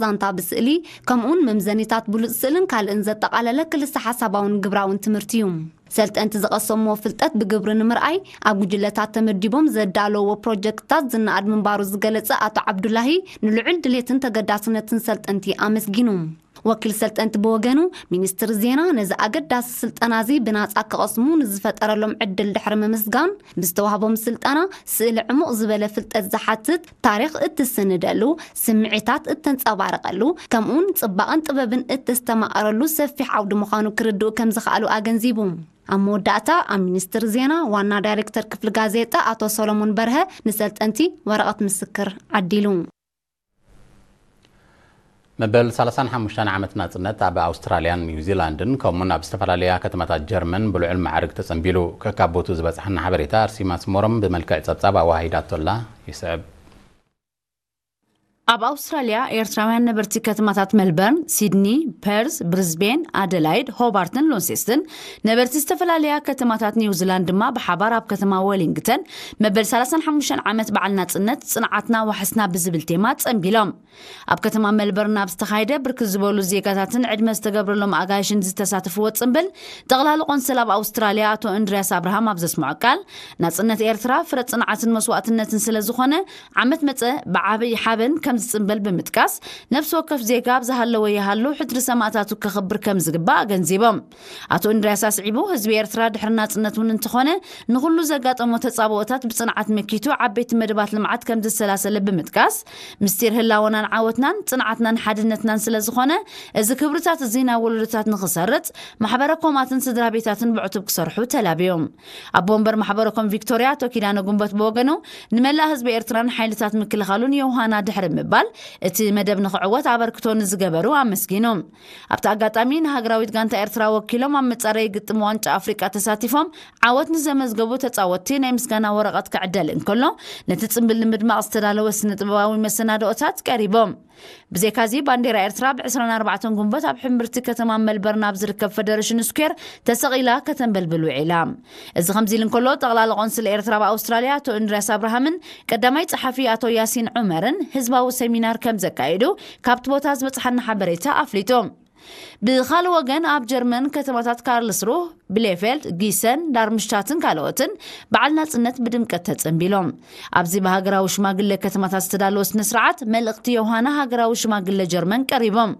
ዛንታ ብስእሊ፣ ከምኡውን መምዘኒታት ብሉጽ ስእልን ካልእን ዘጠቓለለ ክልሰ ሓሳባውን ግብራውን ትምህርቲ እዩ። ሰልጠንቲ ዝቐሰምዎ ፍልጠት ብግብሪ ንምርኣይ፣ ኣብ ጉጅለታት ተመዲቦም ዘዳለዎ ፕሮጀክትታት ዝነኣድ ምንባሩ ዝገለጸ ኣቶ ዓብዱላሂ፣ ንልዑል ድሌትን ተገዳስነትን ሰልጠንቲ ኣመስጊኑ። ወኪል ሰልጠንቲ ብወገኑ፣ ሚኒስትሪ ዜና ነዚ ኣገዳሲ ስልጠና እዚ ብናጻ ክቐስሙ ንዝፈጠረሎም ዕድል ድሕሪ ምምስጋን፣ ብዝተዋህቦም ስልጠና ስእሊ ዕሙቕ ዝበለ ፍልጠት ዝሓትት፣ ታሪኽ እትስንደሉ፣ ስምዒታት እተንጸባርቐሉ፣ ከምኡውን ጽባቐን ጥበብን እተስተማቐረሉ ሰፊሕ ዓውዲ ምዃኑ ክርድኡ ከም ዝኸኣሉ ኣገንዚቡ። ኣብ መወዳእታ፣ ኣብ ሚኒስትሪ ዜና ዋና ዳይሬክተር ክፍሊ ጋዜጣ ኣቶ ሰሎሞን በርሀ ንሰልጠንቲ ወረቐት ምስክር ዓዲሉ። መበል ሰላሳን ሓሙሽተን ዓመት ናጽነት ኣብ ኣውስትራልያን ኒውዚላንድን ከምኡን ኣብ ዝተፈላለያ ከተማታት ጀርመን ብልዑል ማዕርግ ተጸንቢሉ። ከካብ ቦቱ ዝበጽሓና ሓበሬታ ኣርሲማ ስሞሮም ብመልክዕ ጸብጻብ ኣዋሂዳቶላ ይስዕብ። ኣብ ኣውስትራልያ፣ ኤርትራውያን ነበርቲ ከተማታት መልበርን፣ ሲድኒ፣ ፐርዝ፣ ብሪዝቤን፣ ኣደላይድ፣ ሆባርትን ሎንሴስትን፣ ነበርቲ ዝተፈላለያ ከተማታት ኒውዚላንድ ድማ ብሓባር ኣብ ከተማ ወሊንግተን መበል ሰላሳን ሓሙሽተን ዓመት በዓል ናጽነት፣ ጽንዓትና ዋሕስና ብዝብል ቴማ ጸንቢሎም። ኣብ ከተማ መልበርን ኣብ ዝተኻየደ፣ ብርክት ዝበሉ ዜጋታትን ዕድመ ዝተገብረሎም ኣጋይሽን ዝተሳተፍዎ ጽምብል፣ ጠቕላሊ ቆንስል ኣብ ኣውስትራልያ ኣቶ እንድርያስ ኣብርሃም ኣብ ዘስምዖ ቃል፣ ናጽነት ኤርትራ ፍረ ጽንዓትን መስዋእትነትን ስለ ዝኾነ፣ ዓመት መጸ ብዓብይ ሓበን ከም ዝጽምበል ብምጥቃስ፣ ነፍሲ ወከፍ ዜጋ ኣብ ዝሃለወ ይሃሉ ሕድሪ ሰማእታቱ ከኽብር ከም ዝግባእ ኣገንዚቦም። ኣቶ እንድርያስ ኣስዒቡ፣ ህዝቢ ኤርትራ ድሕሪ ናጽነት እውን እንተኾነ፣ ንኹሉ ዘጋጠሞ ተጻብኦታት ብጽንዓት መኪቱ ዓበይቲ መደባት ልምዓት ከም ዘሰላሰለ ብምጥቃስ፣ ምስጢር ህላወናን ዓወትናን ጽንዓትናን ሓድነትናን ስለ ዝኾነ፣ እዚ ክብርታት እዚ ናብ ወለዶታት ንኽሰርጽ ማሕበረ ኮማትን ስድራ ቤታትን ብዕቱብ ክሰርሑ ተላብዮም። ኣቦ ወንበር ማሕበረ ኮም ቪክቶርያ ኣቶ ኪዳነ ጉንበት ብወገኑ፣ ንመላእ ህዝቢ ኤርትራን ሓይልታት ምክልኻሉን የውሃና ድሕሪ ምባል፣ እቲ መደብ ንኽዕወት ኣበርክቶ ንዝገበሩ ኣመስጊኑ። ኣብቲ ኣጋጣሚ፣ ንሃገራዊት ጋንታ ኤርትራ ወኪሎም ኣብ መጻረዪ ግጥም ዋንጫ ኣፍሪቃ ተሳቲፎም ዓወት ንዘመዝገቡ ተጻወትቲ ናይ ምስጋና ወረቐት ክዕደል እንከሎ፣ ነቲ ጽምብል ንምድማቕ ዝተዳለወ ስነ ጥበባዊ መሰናድኦታት ቀሪቦም። ብዘይካዚ፣ ባንዴራ ኤርትራ ብ ዕስራን ኣርባዕተን ጉንበት ኣብ ሕምብርቲ ከተማ መልበርን ኣብ ዝርከብ ፈደረሽን ስኩዌር ተሰቒላ ከተንበልብል ውዒላ። እዚ ከምዚ ኢሉ እንከሎ፣ ጠቕላሊ ቆንስል ኤርትራ ኣብ ኣውስትራልያ ኣቶ እንድርያስ ኣብርሃምን ቀዳማይ ጸሓፊ ኣቶ ያሲን ዑመርን ህዝባዊ ሰሚናር ከም ዘካየዱ ካብቲ ቦታ ዝበጽሓና ሓበሬታ ኣፍሊጡ። ብኻልእ ወገን፣ ኣብ ጀርመን ከተማታት ካርልስሩህ፣ ብሌፌልድ፣ ጊሰን፣ ዳርምሽታትን ካልኦትን በዓል ናጽነት ብድምቀት ተጸንቢሎም። ኣብዚ ብሃገራዊ ሽማግለ ከተማታት ዝተዳለወ ስነ ስርዓት፣ መልእኽቲ ዮሃና ሃገራዊ ሽማግለ ጀርመን ቀሪቦም።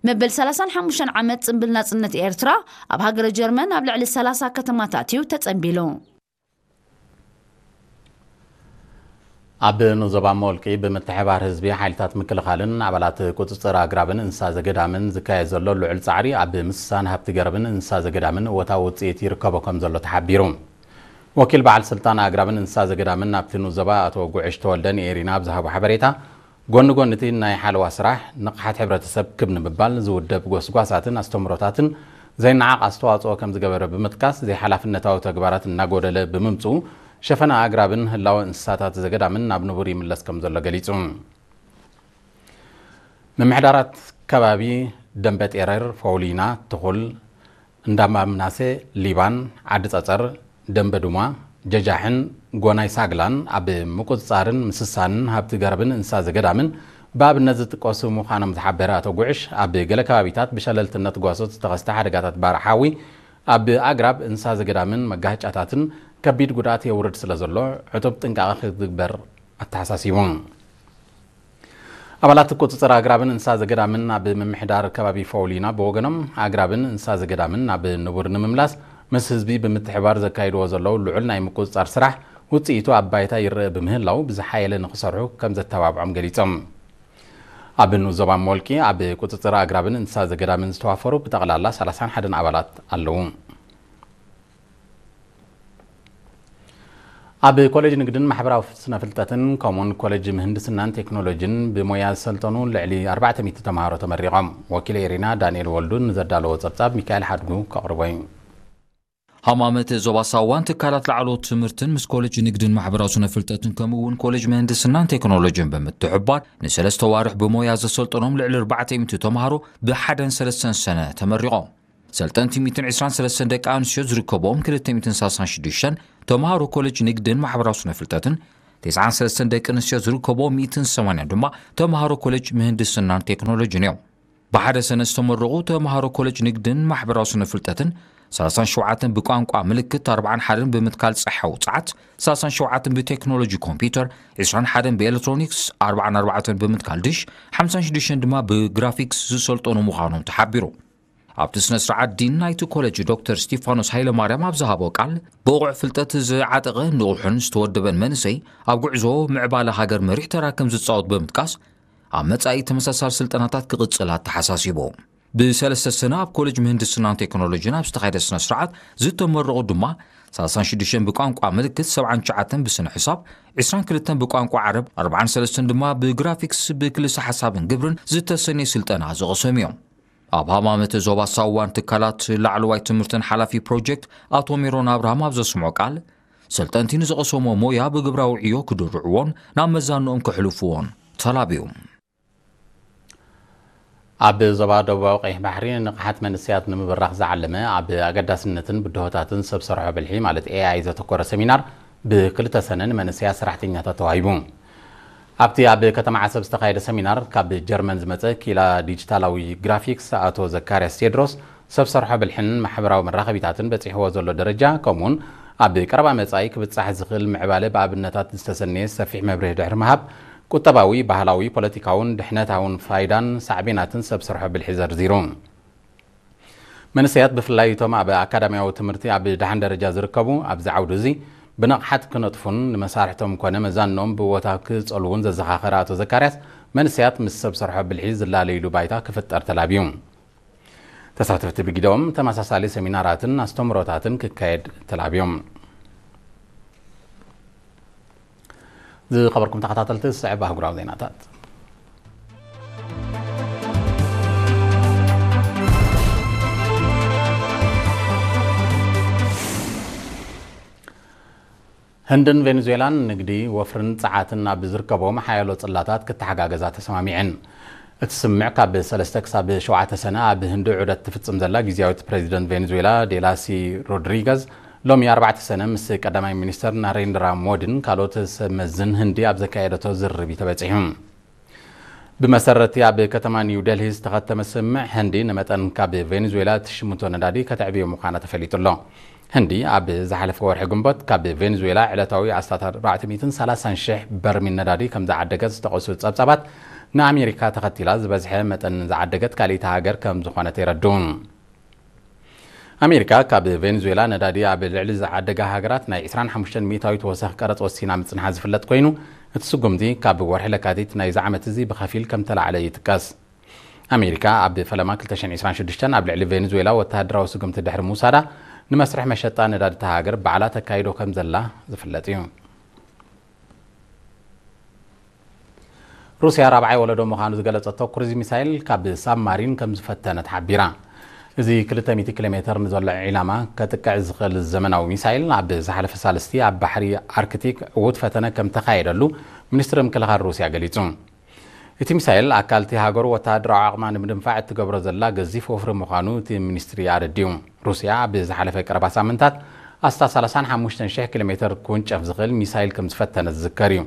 መበል ሰላሳን ሓሙሽተን ዓመት ጽምብል ናጽነት ኤርትራ ኣብ ሃገረ ጀርመን ኣብ ልዕሊ ሰላሳ ከተማታት እዩ ተጸንቢሉ። ኣብ ንዞባ ሞልቂ ብምትሕባር ህዝቢ፣ ሓይልታት ምክልኻልን ኣባላት ቁጽጽር ኣግራብን እንስሳ ዘገዳምን ዝካየድ ዘሎ ልዑል ጻዕሪ፣ ኣብ ምስሳን ሃብቲ ገረብን እንስሳ ዘገዳምን እወታዊ ውጽኢት ይርከቦ ከም ዘሎ ተሓቢሩ። ወኪል በዓል ስልጣን ኣግራብን እንስሳ ዘገዳምን ኣብቲ ንዞባ ኣቶ ጉዕሽ ተወልደ ንኤሪና ኣብ ዝሃቦ ሓበሬታ፣ ጎኒ ጎኒ እቲ ናይ ሓለዋ ስራሕ፣ ንቕሓት ሕብረተሰብ ክብ ንምባል ዝውደብ ጎስጓሳትን ኣስተምህሮታትን ዘይነዓቕ ኣስተዋጽኦ ከም ዝገበረ ብምጥቃስ፣ ዘይሓላፍነታዊ ተግባራት እናጎደለ ብምምጽኡ፣ ሸፈና ኣግራብን ህላወ እንስሳታት ዘገዳምን ናብ ንቡር ይምለስ ከም ዘሎ ገሊጹ። ምምሕዳራት ከባቢ ደንበ ጤረር፣ ፎውሊና፣ ትኹል፣ እንዳማምናሴ፣ ሊባን፣ ዓዲ ጸጸር፣ ደንበ ዱማ፣ ጀጃሕን ጎናይ ሳግላን ኣብ ምቁጽጻርን ምስሳንን ሃብቲ ገረብን እንስሳ ዘገዳምን ብኣብነት ዝጥቀሱ ምዃኖም ዝሓበረ ኣቶ ጉዕሽ፣ ኣብ ገለ ከባቢታት ብሸለልትነት ጓሶት ዝተኸስተ ሓደጋታት ባርዕ ሓዊ ኣብ ኣግራብ፣ እንስሳ ዘገዳምን መጋህጫታትን ከቢድ ጉድኣት የውርድ ስለ ዘሎ፣ ዕቱብ ጥንቃቐ ክግበር ኣተሓሳሲቡ። ኣባላት ቁጽጽር ኣግራብን እንስሳ ዘገዳምን ኣብ ምምሕዳር ከባቢ ፎውሊና ብወገኖም፣ ኣግራብን እንስሳ ዘገዳምን ናብ ንቡር ንምምላስ ምስ ህዝቢ ብምትሕባር ዘካይድዎ ዘለዉ ልዑል ናይ ምቁጽጻር ስራሕ ውጽኢቱ ኣብ ባይታ ይረአ ብምህላው፣ ብዝሓየለ ንኽሰርሑ ከም ዘተባብዖም ገሊጾም። ኣብ ንኡስ ዞባ ሞልቂ ኣብ ቁጽጽር ኣግራብን እንስሳ ዘገዳምን ዝተዋፈሩ ብጠቕላላ ሰላሳን ሓደን ኣባላት ኣለዉ። ኣብ ኮሌጅ ንግድን ማሕበራዊ ስነ ፍልጠትን ከምኡን ኮሌጅ ምህንድስናን ቴክኖሎጂን ብሞያ ዝሰልጠኑ ልዕሊ ኣርባዕተ ሚእቲ ተምሃሮ ተመሪቖም። ወኪል ኤሪና ዳንኤል ወልዱ ንዘዳለዎ ጸብጻብ ሚካኤል ሓድጉ ከቕርቦ እዩ። ሃማመተ ዞባ ሳዋን ትካላት ላዕለዎት ትምህርትን ምስ ኮሌጅ ንግድን ማሕበራዊ ስነ ፍልጠትን ከምኡ እውን ኮሌጅ ምህንድስናን ቴክኖሎጂን ብምትሕባር ንሰለስተ ዋርሕ ብሞያ ዘሰልጠኖም ልዕሊ ኣርባዕተ ሚእቲ ተምሃሮ ብሓደን ሰለስተን ሰነ ተመሪቖም። ሰልጠንቲ ሚእትን ዕስራን ሰለስተን ደቂ ኣንስትዮ ዝርከብኦም ክልተ ሚእትን ሰላሳን ሽዱሽተን ተምሃሮ ኮሌጅ ንግድን ማሕበራዊ ስነ ፍልጠትን ተስዓን ሰለስተን ደቂ ኣንስትዮ ዝርከቦ ሚእትን ሰማንያን ድማ ተምሃሮ ኮሌጅ ምህንድስናን ቴክኖሎጂን እዮም። ብሓደ ሰነ ዝተመረቑ ተምሃሮ ኮሌጅ ንግድን ማሕበራዊ ስነ ፍልጠትን ሰላሳን ሸውዓተን ብቋንቋ ምልክት፣ ኣርባዓን ሓደን ብምትካል ጸሓ ውጽዓት፣ ሰላሳን ሸውዓተን ብቴክኖሎጂ ኮምፒውተር፣ ዕስራን ሓደን ብኤሌክትሮኒክስ፣ ኣርባዓን ኣርባዕተን ብምትካል ድሽ፣ ሓምሳን ሽዱሽተን ድማ ብግራፊክስ ዝሰልጠኑ ምዃኖም ተሓቢሩ። ኣብቲ ስነ ስርዓት ዲን ናይቲ ኮሌጅ ዶክተር ስቲፋኖስ ሃይለማርያም ኣብ ዝሃቦ ቃል፣ ብቑዕ ፍልጠት ዝዓጠቐ ንቑሕን ዝተወደበን መንእሰይ ኣብ ጉዕዞ ምዕባለ ሃገር መሪሕ ተራ ከም ዝጻወት ብምጥቃስ፣ ኣብ መጻኢ ተመሳሳሊ ስልጠናታት ክቕጽል ኣተሓሳሲቡ። ብሰለስተ ሰነ ኣብ ኮሌጅ ምህንድስናን ቴክኖሎጂን ኣብ ዝተኻየደ ስነ ስርዓት ዝተመረቑ ድማ ሰላሳን ሽዱሽተን ብቋንቋ ምልክት፣ ሰብዓን ትሽዓተን ብስነ ሕሳብ፣ ዕስራን ክልተን ብቋንቋ ዓረብ፣ ኣርባዓን ሰለስተን ድማ ብግራፊክስ ብክልሰ ሓሳብን ግብርን ዝተሰነየ ስልጠና ዝቐሰሙ እዮም። ኣብ ሃማመተ ዞባ ሳዋን ትካላት ላዕለዋይ ትምህርትን ሓላፊ ፕሮጀክት ኣቶ ሜሮን ኣብርሃም ኣብ ዘስምዖ ቃል፣ ሰልጠንቲ ንዝቐሰሞ ሞያ ብግብራዊ ዕዮ ክድርዕዎን ናብ መዛንኦም ከሕልፍዎን ተላብዩ። ኣብ ዞባ ደቡባዊ ቀይሕ ባሕሪ ንቕሓት መንእሰያት ንምብራኽ ዝዓለመ ኣብ ኣገዳስነትን ብድሆታትን ሰብ ሰርሖ ብልሒ ማለት ኤ ኣይ ዘተኮረ ሰሚናር ብክልተ ሰነ ንመንእሰያት ሰራሕተኛታት ተዋሂቡ። ኣብቲ ኣብ ከተማ ዓሰብ ዝተኻየደ ሰሚናር ካብ ጀርመን ዝመጸ ኪላ ዲጂታላዊ ግራፊክስ ኣቶ ዘካርያስ ቴድሮስ ሰብ ሰርሖ ብልሕን ማሕበራዊ መራኸቢታትን በጺሕዎ ዘሎ ደረጃ ከምኡውን ኣብ ቀረባ መጻኢ ክብጻሕ ዝኽእል ምዕባለ ብኣብነታት ዝተሰነየ ሰፊሕ መብርሂ ድሕሪ ምሃብ ቁጠባዊ፣ ባህላዊ፣ ፖለቲካውን ድሕነታውን ፋይዳን ሳዕቤናትን ሰብ ሰርሖ ብልሒ ዘርዚሩ። መንእሰያት ብፍላይ እቶም ኣብ ኣካዳሚያዊ ትምህርቲ ኣብ ደሓን ደረጃ ዝርከቡ ኣብዚ ዓውዲ እዚ ብንቕሓት ክነጥፉን ንመሳርሕቶም ኮነ መዛንኦም ብቦታ ክጸልዉን ዘዘኻኸረ ኣቶ ዘካርያስ፣ መንእሰያት ምስ ሰብ ሰርሖ ብልሒ ዝላለይሉ ባይታ ክፍጠር ተላብዩ። ተሳተፍቲ ብግደኦም ተመሳሳሊ ሰሚናራትን ኣስተምህሮታትን ክካየድ ተላብዮም። ዝኸበርኩም ተኸታተልቲ፣ ዝስዕብ ኣህጉራዊ ዜናታት። ህንድን ቬኔዙዌላን ንግዲ፣ ወፍርን ጸዓትን ኣብ ዝርከቦም ሓያሎ ጽላታት ክተሓጋገዛ ተሰማሚዐን። እቲ ስምምዕ ካብ ሰለስተ ክሳብ ሸውዓተ ሰነ ኣብ ህንዲ ዑደት ትፍጽም ዘላ ግዝያዊት ፕሬዚደንት ቬኔዙዌላ ዴላሲ ሮድሪገዝ ሎሚ ኣርባዕተ ሰነ ምስ ቀዳማይ ሚኒስተር ናሬንድራ ሞዲን ካልኦት ሰብ መዝን ህንዲ ኣብ ዘካየደቶ ዝርርብ እዩ ተበጺሑ። ብመሰረትቲ ኣብ ከተማ ኒው ደልሂ ዝተኸተመ ስምምዕ፣ ህንዲ ንመጠን ካብ ቬኔዙዌላ እትሽምቶ ነዳዲ ከተዕብዮ ምዃና ተፈሊጡ ኣሎ። ህንዲ ኣብ ዝሓለፈ ወርሒ ግንቦት ካብ ቬኔዙዌላ ዕለታዊ ኣስታት ኣርባዕተ ሚእትን ሰላሳን ሽሕ በርሚል ነዳዲ ከም ዝዓደገት ዝጠቐሱ ጸብጻባት፣ ንኣሜሪካ ተኸቲላ ዝበዝሐ መጠን ዝዓደገት ካልኣይቲ ሃገር ከም ዝኾነት የረድኡ። ኣሜሪካ ካብ ቬኔዙዌላ ነዳዲ ኣብ ልዕሊ ዝዓደጋ ሃገራት ናይ ዕስራን ሓሙሽተን ሚእታዊት ወሰኽ ቀረጽ ወሲና ምጽንሓ ዝፍለጥ ኮይኑ፣ እቲ ስጉምቲ ካብ ወርሒ ለካቲት ናይዚ ዓመት እዚ ብኸፊል ከም ተላዕለ ይጥቀስ። ኣሜሪካ ኣብ ፈለማ ክልተ ሽሕን ዕስራን ሽዱሽተን ኣብ ልዕሊ ቬኔዙዌላ ወተሃደራዊ ስጉምቲ ድሕሪ ምውሳዳ፣ ንመስርሕ መሸጣ ነዳዲ እታ ሃገር ባዕላ ተካይዶ ከም ዘላ ዝፍለጥ እዩ። ሩስያ ራብዓይ ወለዶ ምዃኑ ዝገለጸቶ ክሩዝ ሚሳይል ካብ ሳብማሪን ከም ዝፈተነት ሓቢራ። እዚ ክልተ ሚእቲ ኪሎ ሜተር ንዘሎ ዒላማ ከጥቅዕ ዝኽእል ዘመናዊ ሚሳይል ኣብ ዝሓለፈ ሳልስቲ ኣብ ባሕሪ ኣርክቲክ ዕዉት ፈተነ ከም ተኻየደሉ ሚኒስትሪ ምክልኻል ሩስያ ገሊጹ። እቲ ሚሳይል ኣካል እቲ ሃገሩ ወተሃደራዊ ዓቕማ ንምድንፋዕ እትገብሮ ዘላ ገዚፍ ወፍሪ ምዃኑ እቲ ሚኒስትሪ ኣረዲኡ። ሩስያ ኣብ ዝሓለፈ ቀረባ ሳምንታት ኣስታት ሰላሳን ሓሙሽተን ሽሕ ኪሎ ሜተር ክውንጨፍ ዝኽእል ሚሳይል ከም ዝፈተነ ዝዝከር እዩ።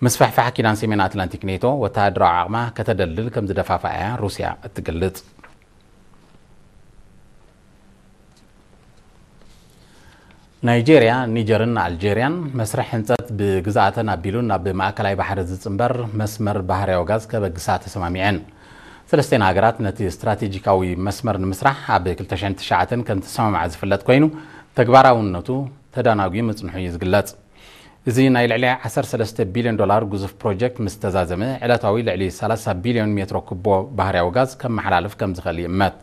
ምስፍሕፋሕ ኪዳን ሰሜን ኣትላንቲክ ኔቶ ወተሃደራዊ ዓቕማ ከተደልድል ከም ዝደፋፍኣ እያ ሩስያ እትገልጽ። ናይጄርያ፣ ኒጀርን ኣልጄርያን መስርሕ ህንጸት ብግዝኣተን ኣቢሉ ናብ ማእከላይ ባሕሪ ዝጽንበር መስመር ባህርያዊ ጋዝ ከበግሳ ተሰማሚዐን። ሰለስቴን ሃገራት ነቲ ስትራቴጂካዊ መስመር ንምስራሕ ኣብ ክልተ ሽሕን ትሽዓተን ከም ተሰማምዓ ዝፍለጥ ኮይኑ፣ ተግባራውነቱ ተዳናጒ ምጽንሑ እዩ ዝግለጽ። እዚ ናይ ልዕሊ ዓሰርተ ሰለስተ ቢልዮን ዶላር ግዙፍ ፕሮጀክት ምስ ተዛዘመ፣ ዕለታዊ ልዕሊ ሰላሳ ቢልዮን ሜትሮ ኩቦ ባህርያዊ ጋዝ ከመሓላልፍ ከም ዝኽእል ይእመት።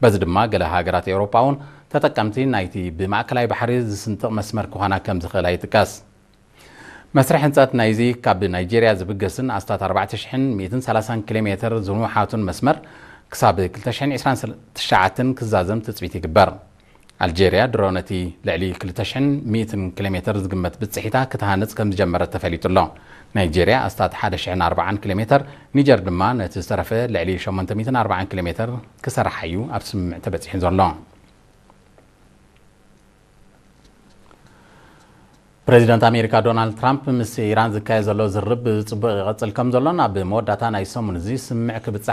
በዚ ድማ ገለ ሃገራት ኤውሮጳ እውን ተጠቀምቲ ናይቲ ብማእከላይ ባሕሪ ዝስንጥቕ መስመር ክኾና ከም ዝኽእላ ይጥቀስ። መስርሕ ህንጸት ናይዚ ካብ ናይጄርያ ዝብገስን ኣስታት ኣርባዕተ ሽሕን ሚእትን ሰላሳን ኪሎ ሜተር ዝንውሓቱን መስመር ክሳብ ክልተ ሽሕን ዕስራን ትሽዓተን ክዛዘም ትጽቢት ይግበር። ኣልጄርያ ድሮ ነቲ ልዕሊ ክልተ ሽሕን ሚእትን ኪሎ ሜተር ዝግመት ብጽሒታ ክትሃንጽ ከም ዝጀመረት ተፈሊጡ ኣሎ። ናይጄርያ ኣስታት ሓደ ሽሕን ኣርባዓን ኪሎ ሜተር፣ ኒጀር ድማ ነቲ ዝተረፈ ልዕሊ ሸሞንተ ሚእትን ኣርባዓን ኪሎ ሜተር ክሰርሓ እዩ ኣብ ስምምዕ ተበጺሑ ዘሎ። ፕሬዚደንት ኣሜሪካ ዶናልድ ትራምፕ ምስ ኢራን ዝካየድ ዘሎ ዝርርብ ብጽቡቕ ይቐጽል ከም ዘሎን ኣብ መወዳእታ ናይ ሰሙን እዚ ስምምዕ ክብጻሕ